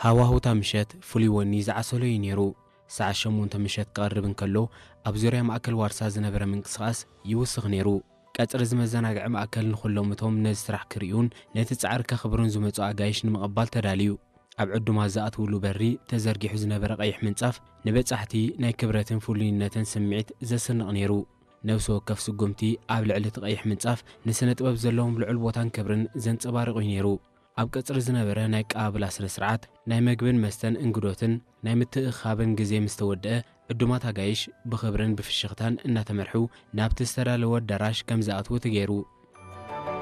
ሃዋሁታ ምሸት ፍሉይ ወኒ ዝዓሰሎ እዩ ነይሩ። ሰዓት ሸሞንተ ምሸት ክቐርብ እንከሎ፣ ኣብ ዙርያ ማእከል ዋርሳ ዝነበረ ምንቅስቓስ ይውስኽ ነይሩ። ቀጽሪ እዚ መዘናግዒ ማእከል ንኹሎም እቶም ነዚ ስራሕ ክርእዩን ነቲ ጻዕሪ ከኽብሩን ዝመጹ ኣጋይሽ ንምቕባል ተዳልዩ። ኣብ ዕዱማት ዝኣትውሉ በሪ ተዘርጊሑ ዝነበረ ቀይሕ ምንጻፍ ንበጻሕቲ ናይ ክብረትን ፍሉይነትን ስምዒት ዘስንቕ ነይሩ። ነፍሲ ወከፍ ስጉምቲ ኣብ ልዕሊ እቲ ቀይሕ ምንጻፍ ንስነ ጥበብ ዘለዎም ልዑል ቦታን ክብርን ዘንጸባርቕ እዩ ነይሩ። ኣብ ቀጽሪ ዝነበረ ናይ ኣቀባብላ ስነ ስርዓት ናይ መግብን መስተን እንግዶትን ናይ ምትእኻብን ግዜ ምስ ተወድአ፣ ዕዱማት ኣጋይሽ ብኽብርን ብፍሽኽታን እናተመርሑ ናብቲ ዝተዳለወ ኣዳራሽ ከም ዝኣትዉ ተገይሩ።